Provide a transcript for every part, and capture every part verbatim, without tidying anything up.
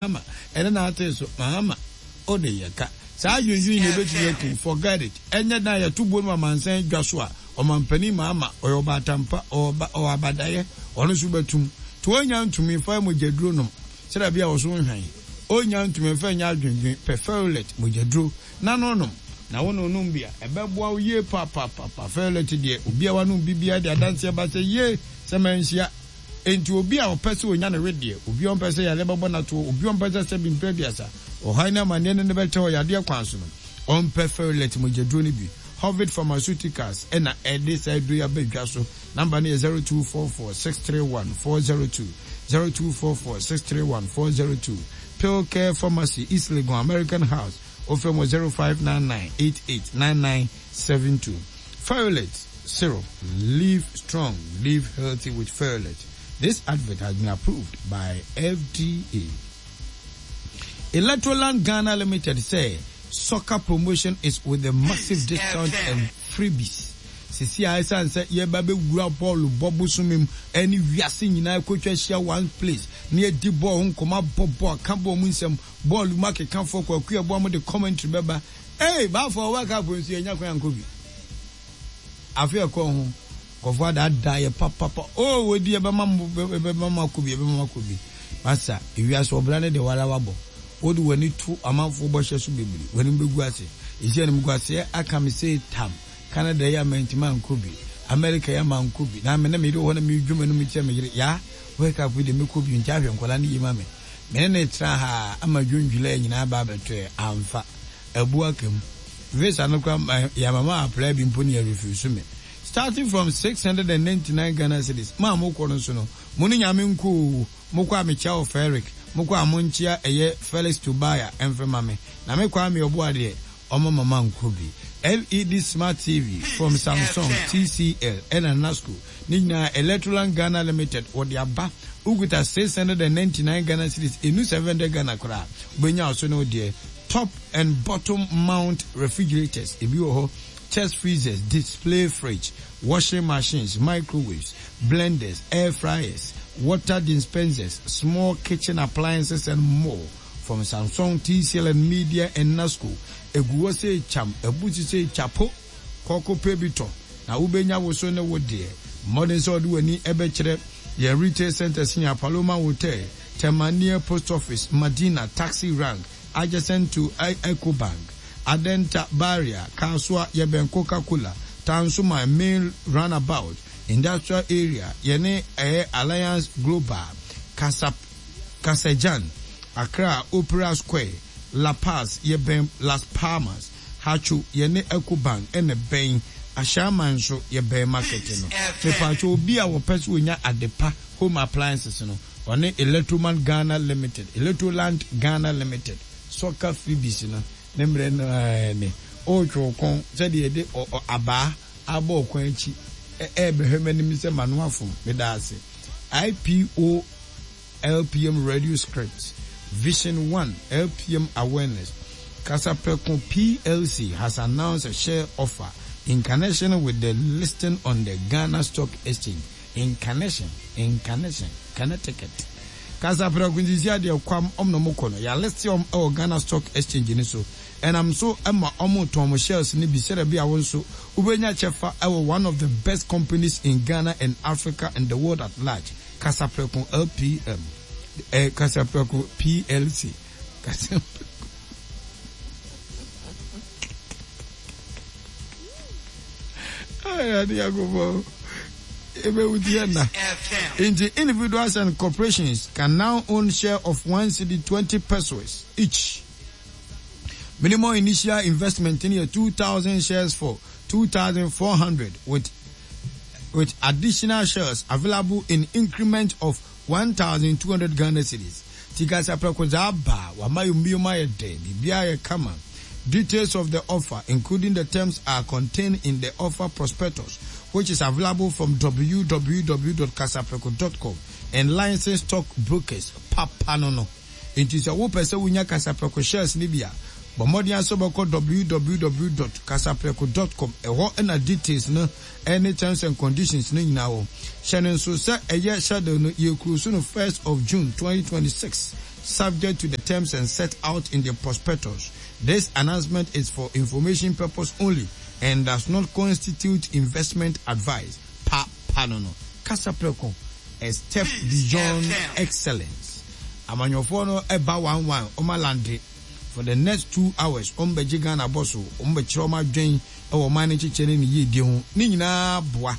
Mahama ɛne n'atee so Mahama ode yɛ ka saa adwendwen na ebetumi akum forget it ɛnyɛ dan yɛto buo no amansan dwa so a ɔmampanin Mahama ɔyɛ ɔbaatampa ɔwɔ ɔwɔ abadaeɛ ɔno nso bɛtum to onya ntumi fa mogyaduro nom sɛdeɛ bi a ɔso nhwan onya ntumi mfa nyɛ adwendwen pɛ Ferrolet mogyaduro na no nom na wo no nom bi a ɛbɛboa wo yie paapaapaapa Ferrolet deɛ obi a wanom bi biara de adanseɛ ba sɛ yie sɛ manhyia. Enti obi a ɔpɛ sɛ onya ne wedeɛ, obi a ɔmpɛ sɛ yareɛ bɛbɔ no atoɔ, obi a ɔmpɛ sɛ sɛbe mprɛ aduasa, ɔhaw ne amanneɛ ne no bɛkyɛ wɔ yadeɛ kwan so no, ɔmpɛ Ferrilet mogyaduro no bi. Hovid Pharmaceuticals na ɛde saa aduro yi aba dwa so. Number no yɛ zero two four four six three one four zero two, zero two four four six three one four zero two. Pill Care Pharmacy, East Legon, American House, wofrɛ mu wɔ zero five nine nine eight eight nine nine seven two. Ferrilet syrup, live strong, live healthy with Ferrilet. This advert has been approved by F D A. Electroland Ghana Limited say soccer promotion is with a massive discount and freebies. Sisi a ɛsiane sɛ yɛba bɛwura bɔɔlo bɔ bosome mu ɛne wiase nyinaa kɔtwa ahyia one place na yɛdi bɔɔl ho nkɔmɔ, abɔ bɔɔl, aka bɔɔl mu nsɛm, bɔɔl mu akekafoɔ Kwaku Yɛboa mo de commentary bɛba. Ee, baafo World Cup nso yɛnya kwan ankɔ bi. Afe ɛkɔ ho nkɔfoɔ adaadaa yɛ papapa o, wɔdi yɛbɛma mo, yɛbɛma mo akɔ bi, yɛbɛma mo akɔ bi. Masa, ewiase ɔbra ne deɛ wara wabɔ. Wode w'ani to amanfoɔ bɔhyɛ so bebree, w'anim bɛgu ase. Ɛsi animguaseɛ aka me sei tam. Canada yi a mantumi ankɔ bi, America yi a mankɔ bi, na me ne me yere wɔ hɔ na medwo m'anom kyerɛ me yere, yaa, World Cup yi deɛ mɛkɔ bi, nti ahwɛ nkwadaa no yie ma me. Me ne no tena ha ama June, July nyinaa ba abɛtoɛ, amfa. Abu aka mu. Visa no koraa yɛama ma apply bi mpo ne yɛ refuse me. Starting from six hundred and ninety-nine Ghana cedis. Mo a mokɔ no nso no, mo ne Nyame nko o. Mokɔ a mekyia wɔ Ferric, mokɔ a monkyia ɛyɛ Felix Tobaya ɛmfɛ ma me. Na me Kwame Ɔboa deɛ, ɔma mama nkɔ bi. L E D Smart T V from Samsung, T C L ɛna Nasco ne nyinaa Electroland Ghana Limited wɔde aba. Wokuta six hundred and ninety-nine Ghana cedis, enu seven hundred Ghana koraa, wobɛnya ɔso ne wo deɛ. Top and bottom mount refrigerators ebi wɔ hɔ, chest freezers, display fridge, washing machines, microwaves, blenders, air fryers, water dispensers, small kitchen appliances and more from Samsung, T C L and Media and Nasco. Egu hɔ sɛ kyam, ɛbu sɛ kyapo, kɔkɔ pɛ bi tɔ na wobɛnya wo so ne wo deɛ. Mmɔden sɛ ɔde w'ani ɛbɛkyerɛ yɛn retail centers nyɛ Paloma Hotel, Tema near Post Office, Madina Taxi Rank, adjacent to Ecobank, Adenta Barrier, Kasoa, yɛbɛn Coca-Cola, Tansuma main roundabout, Industrial Area, yɛne ɛyɛ Alliance Global, Kasap Kasajan, Accra Opera Square, La Paz, yɛbɛn Las Palmas, Haatso, yɛne Ecobank ɛna bɛn, Ahyɛaman nso yɛbɛn market no. Mepatwo, obi a wɔpɛ sɛ onya adepa home appliances no, ɔne Electroman Ghana Limited, Electroland Ghana Limited. Soccer freebies no ne mmerɛ no ɛɛ ne ɔretwe wo kɔn sɛdeɛ yɛde abaa abɔ ɔkwan akyi ɛɛbɛhwɛ m'anim sɛ mano afom. Meda ase. I P O L P M Radio Script Vision one L P M Awareness. Kasapreko P L C has announced a share offer in connection with the listing on the Ghana Stock Exchange. In connection, in connection, Connecticut. Kasapreko nsisi adeɛ kwam ɔmo na ɔmo kɔ no yɛa list ɔmo ɛwɔ Ghana Stock Exchange ni so, ɛnam so ɛma ɔmo tɔn ɔmo shares ni bi sɛdeɛ bi a wɔn nso wobɛnya kyɛfa ɛwɔ one of the best companies in Ghana and Africa and the world at large. Kasapreko L P M, eh, Kasapreko P L C, Kasapreko. Ay, Yakubu. Nti individuals and corporations can now own share of one cedi twenty pesewas each. Minimum initial investment in here two thousand shares for two thousand four hundred with with additional shares available in increment of one thousand two hundred Ghana cedis. Tikasa prɛko aba wama yɛ mbiem ayɛ dɛ, biribiara yɛ kama. Details of the offer, including the terms, are contained in the offer prospectus, which is available from w w w dot kasapreko dot com and licensed stock brokers. Papa no no. Nti sɛ wopɛ sɛ wonya Kasapreko shares ni bi a, Bɔ mmɔden asɛ wobɛkɔ w w w dot kasaprɛko dot com. Ɛhɔ ɛna details no ɛne terms and conditions no nyinaa wɔ. Hyɛ no nso sɛ ɛyɛ schedule no, yɛkuro so no first of June twenty twenty-six, subject to the terms and set out in the prospectus. This announcement is for information purpose only and does not constitute investment advice. Pa pa no no Kasaprɛko, a step beyond excellence. Amanyɔfoɔ no ɛba one one, ɔma land for the next two hours. Ɔmo bɛgye Ghana bɔ so, ɔmo bɛkyerɛ ɔmo adwen ɛwɔ ɔman no kyekyɛ ne ne yiedie ho ne nyinaa boa.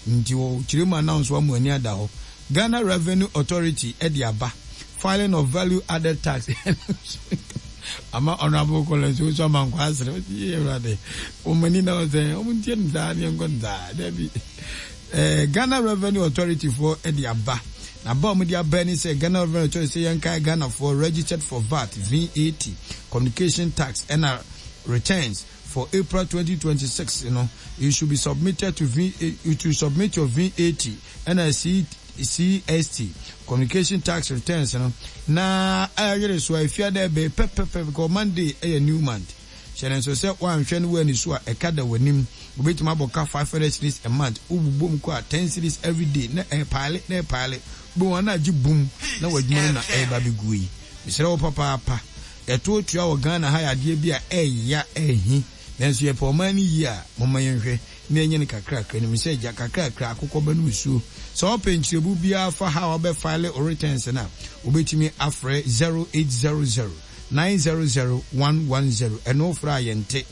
Nti wɔ kyerɛ mu announce wa mu ani ada hɔ. Ghana Revenue Authority ɛde aba filing of value added tax ama Honourable Collins nso ama nkwa asere ɔsi yie. Awurade, wɔn ani na ɔsɛ wɔn ntie no saa ne nkɔ no saa dabi. ɛɛ ghana Revenue Authority foɔ ɛde aba na aba a wɔde aba ni sɛ Ghana Revenue Authority sɛ yɛn kae Ghanafoɔ registered for V A T, V A T, communication tax ɛna returns for April twenty twenty-six. You know, you should be submitted to V you to submit your V A T ɛna C C S T, communication tax returns no na ayere so a efia dɛ bɛyɛ pɛpɛpɛ, because Monday ɛyɛ new month. Hyɛ ne nso sɛ woanhwɛ no wɔ so a, ɛka da w'anim. Wobɛtumi abɔ ka five hundred cedis a month, wobobom kɔ a ten cedis every day na ɛpaale na ɛpaale bɛ wɔn na agye bum na w'adwuma no na ɛreba bɛgu yi. Mesrɛ wo papaapa, yɛto tua wɔ Ghana ha yɛ adeɛ bi a ɛɛya ɛɛhi, nanso yɛpɛ ɔman no yie a, momma yɛnhwɛ na ɛnyɛ no kakrakra nim sɛ gya kakrakra akokɔ bɛ no nsuo. Sɛ wopɛ nkyerɛbu biara fa ha a wabɛfile o returns no a, wobɛtumi afrɛ zero eight zero zero nine zero zero one one zero. Ɛno wofrɛ a yɛnte.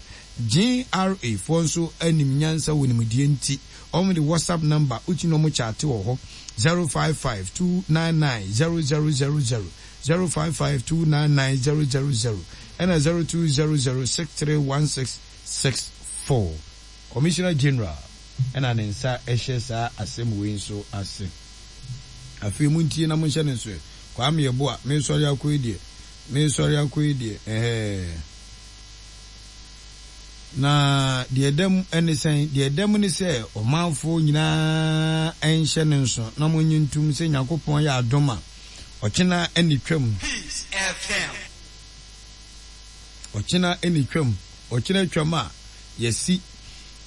G R A foɔ nso anim nyansa wɔ nimdeɛ nti ɔmo de WhatsApp number wotumi na ɔmo chat wɔ hɔ, zero five five two nine nine zero zero zero zero, zero five five two nine nine zero zero zero ɛna zero two zero zero six three one six six four. Commissioner General ɛna ne nsa ɛhyɛ saa asɛm wei nso ase. Afei mu ntie na monhyɛ ne nso. Kwame Yɛboa, mensɔre akɔ yi deɛ, mensɔre akɔ yi deɛ, ɛhɛɛ. Na deɛ ɛda mu ne sɛn? Deɛ ɛda mu ne sɛ ɔmanfoɔ nyinaa nhyɛ ne nso na monye ntom sɛ Nyankopɔn yɛ adom a, ɔkyena ne twam. Peace F M. Ɔkyena ne twam. Ɔkyena twam a yɛsi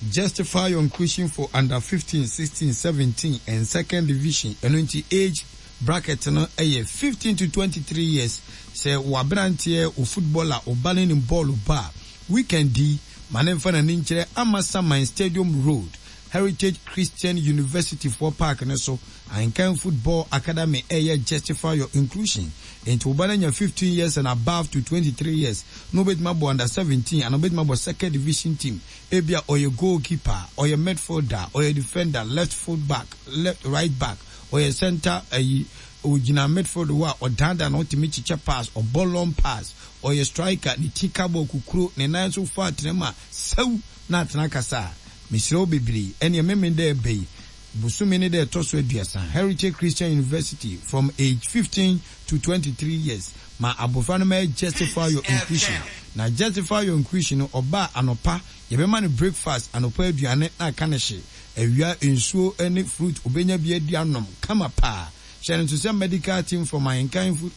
Justify Your Inclusion for under fifteen, sixteen, seventeen and second division. Ɛno nti age bracket no ɛyɛ fifteen to twenty-three years. Sɛ waberanteɛ o, footballer, ɔba ne ne bɔɔlo ba a, weekend yi ma ne nfa n'ani nkyerɛ Amasaman Stadium Road, Heritage Christian University foɔ park ne so. Ahenkan Football Academy ɛyɛ Justify Your Inclusion. Nti wo ba no anya fifteen years and above to twenty-three years na wobɛtumi abɔ under seventeen ana wobɛtumi abɔ second division team. Ebia ɔyɛ goalkeeper, ɔyɛ midfielder, ɔyɛ defender, left full back, left, right back, ɔyɛ center, ayi ogyina midfield hɔ a ɔdaadaa na ɔtumi kyekyɛ pass, ɔbɔ long pass, ɔyɛ striker, ne ti ka bɔ kukuro, ne nan nso fa atena mu a sɛw na atena kasa a. Mesrɛ wo bebree, ɛneɛ meme dɛ ɛbɛ yi bosome ne dɛ ɛtɔ so aduasa, Heritage Christian University, from age fifteen to twenty-three years, ma abɔfra no ma Justify Your Inclusion. Na Justify Your Inclusion no, ɔbaa anɔpa yɛbɛma no breakfast, anɔpa aduane na aka ne hye, awia nsuo ne fruit obɛnya bi adi anom kama paa. Hyɛ no nso sɛ medical team from Ahenkan food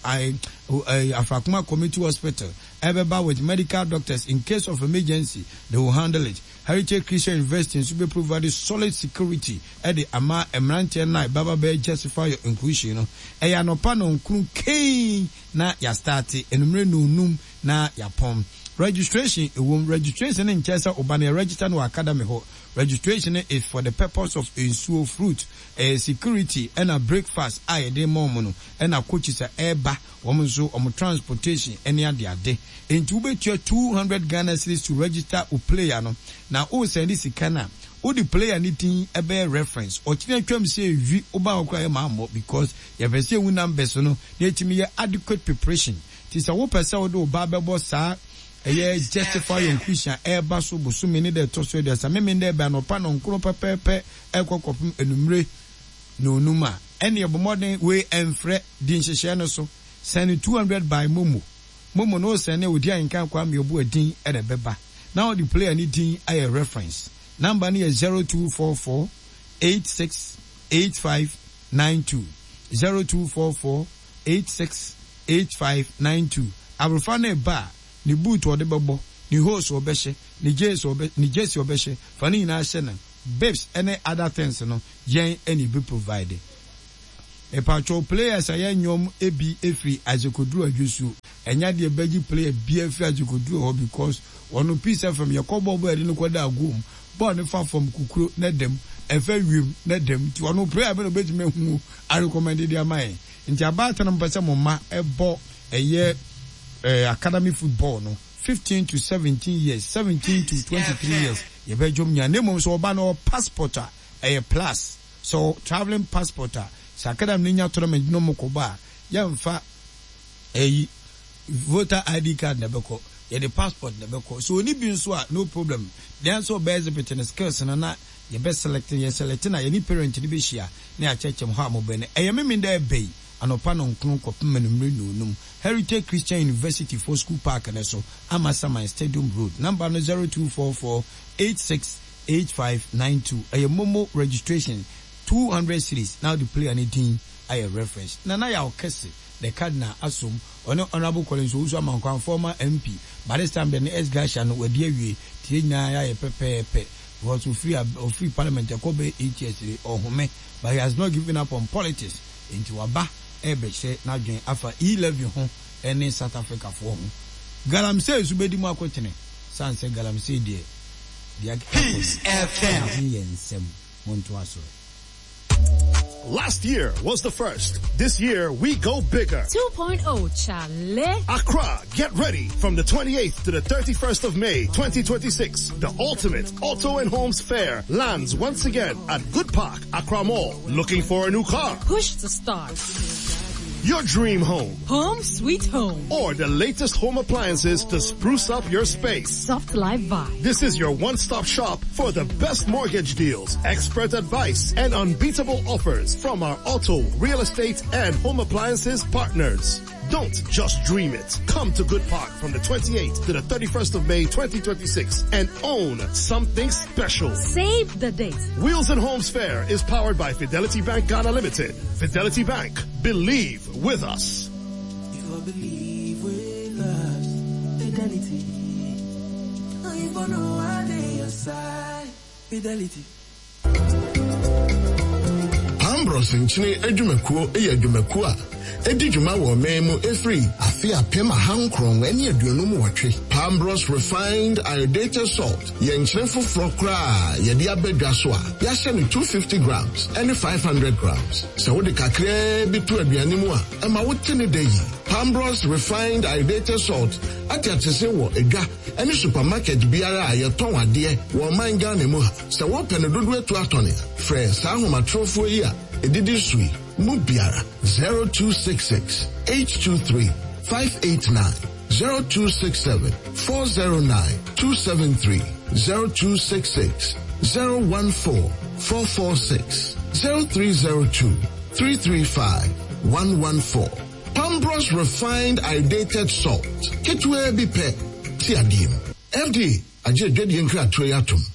Afrakoma Community Hospital ɛbɛba with medical doctors. In case of emergency, they will handle it. Heritage Christian University nso bɛ provide solid security ɛde ama mmeranteɛ no a ɛbaba bɛyɛ Justify Your Inclusion no. Ɛyɛ anɔpa nɔnkron kei na yɛastart, enumere nonum na yɛapɔn. Registration ɛwom. Registration no nkyɛn sɛ ɔba no yɛ register no wɔ academy hɔ. Registration is for the purpose of nsuo, fruit, ɛyɛ security ɛna breakfast a yɛde ma wɔn no, ɛna coaches a ɛreba wɔn nso wɔn transportation ɛne adeade. Nti wobɛtua two hundred Ghana cedis to register o player no. Na o send sika na wode player ne din ɛbɛyɛ reference. Ɔkyerɛ twam sɛ ewi woba hɔ koraa yɛ maa mmɔ, because yɛpɛ sɛ ehu numbers no na etumi yɛ adequate preparation. Ti sɛ wopɛ sɛ wode wo ba bɛbɔ saa ɛyɛ Justify Your Inclusion a ɛreba so bosome ne dɛ ɛtɔ so aduasa, mímí dɛ ɛbɛn anɔpa nɔnkoro pɛpɛɛpɛ ɛkɔ kɔpem enumere na onum a, ɛne ɛbɔ mmɔden wei ɛnfrɛ di nhyehyɛ no so. Send two hundred by MoMo. MoMo no send odi Ahenkan Kwame Obu adin ɛna ɛbɛba na ɔde player ne din ayɛ reference. Number no yɛ zero two four four eight six eight five nine two, zero two four four eight six eight five nine two. Aborofa no ba a Ne boot ɔde bɛbɔ, ne hose ɔbɛhyɛ, ne jersey ɔbɛ ne jersey ɔbɛhyɛ, fa ne nyinaa hyɛ no. Bibs ɛne other things no, yɛn ɛna ebi provide. Mepatwɛw, players a yɛnyɛ ebi efiri Azekoduru Adwosuo, ɛnya deɛ bɛgye player bia firi Azekoduru hɔ because ɔno Peace F M yɛkɔ bɔɔl bɔɔl, yɛde no kɔ da agom bɔɔl ne fa fam kukuro ne dɛm ɛfɛ wiem ne dɛm, nti ɔno player bɛ na obetumi ehu arecommend de ama yɛn. Nti abaatan no mpɛ sɛ mo ma ɛbɔ ɛyɛ ɛɛ academy football no, fifteen to seventeen years, seventeen to twenty three years, yɛbɛdwom nya ne mmom sɛ ɔba no ɔwɔ passport a ɛyɛ plus. So travelling passport a, sɛ academy no nya tournament no mo kɔ ba a, yɛmfa ɛyi voter I D card na ɛbɛkɔ, yɛde passport na ɛbɛkɔ. So oni bi nso a, no problem. Deɛ nso ɔbɛ exhibit ne skills no na yɛbɛ select, yɛ select na yɛne parent no bɛhyia na yɛakyerɛkyerɛ mu hɔ a mobɛ no. Ɛyɛ Memenda ɛbɛ yi anɔpa no nkron kɔpem anumere nonum, Heritage Christian University for school park ne so, Amasaman Stadium Road. Number no zero two four four eight six eight five nine two. Ɛyɛ MoMo registration, two hundred cedis na wode player ne din ayɛ reference. Nana Yaw Kɛse the Cardinal asom, ɔne Honourable Collins Owusu Amankwan, former M P, by this time de ne ex gratia no wadi awie tie nyinaa yɛayɛ pɛpɛɛpɛ because ofiri ofiri parliament ɛkɔ bɛyɛ eight years de ɔhome, but he has not given up on politics. Nti waba ɛbɛhyɛ n'adwene afa e-levy ho ɛne South Africa foɔ ho galamsey nso bɛdi mu akɔtene san sɛ galamsey deɛ deɛ akeka kɔ no yɛ nsɛm montoa so. Last year was the first. This year we go bigger. 2.0 Chale. Accra, get ready. From the twenty-eighth to the thirty-first of May, twenty twenty-six, the ultimate Auto and Homes Fair lands once again at Good Park, Accra Mall. Looking for a new car? Push to start. Your dream home. Home sweet home. Or the latest home appliances to spruce up your space. Soft life vibe. This is your one-stop shop for the best mortgage deals, expert advice, and unbeatable offers from our auto, real estate, and home appliances partners. Don't just dream it. Come to Good Park from the twenty-eighth to the thirty-first of May twenty twenty-six and own something special. Save the date. Wheels and Homes Fair is powered by Fidelity Bank Ghana Limited. Fidelity Bank. Believe with us. If I believe with us, Fidelity. If I know I dey your side, Fidelity. Pambros nkyene adwumakuo yɛ adwumakuo a ɛdi dwuma wɔ ɔman mu ɛfiri afe apem ahankron ne aduonum wɔtwe. Pambros Refined Iodated Salt yɛ nkyene foforɔ koraa yɛde abɛdwa so a yɛahyɛ no two hundred fifty grams ne five hundred grams. Sɛ wode kakraa bi to aduane mu a, ɛma wote ne da yi. Pambros Refined Iodated Salt ate atese wɔ edwa ne supermarket biara a yɛtɔn adeɛ wɔ ɔman Ghana mu ha. Sɛ wɔpɛ no dodoɔ atu atɔne a, frɛ saa ahomatorofoɔ yi a ɛdidi so yi mu biara: zero two six six eight two three five eight nine, zero two six seven four zero nine two seven three, zero two six six zero one four four four six, zero three zero two three three five one one four. Pambros Refined Iodated Salt. Ketewa bi pɛ ti adeɛ mu. F D A agye adwadie nkratoɔ yi atom.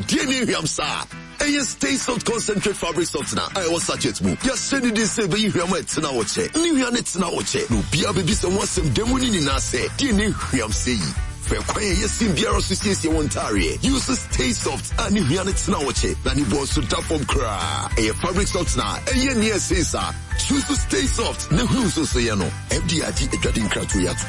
Deɛ ne hwam saa ɛyɛ Stay Soft Concentrate Fabric Softener a ɛwɔ sachet mu. Yɛahyɛ ne din sɛ ɛbɛyi hwam a ɛtena wo kyɛ ne hwa ne tena wo kyɛ, na obiara bɛbisa ho asɛm da mu ne nyinaa sɛ, deɛ ne hwam sɛ yi fɛ kwan a ɛyɛ sin biara so siesie wɔn ntaareɛ. Use Stay Soft a ne hwia ne tena wo kyɛ na ne bɔ nso da fam koraa. Ɛyɛ fabric softener a ɛyɛ nea ɛsen saa. Choose Stay Soft na hunu nso so yɛ no. F D A agye adwade nkratoɔ yi ato.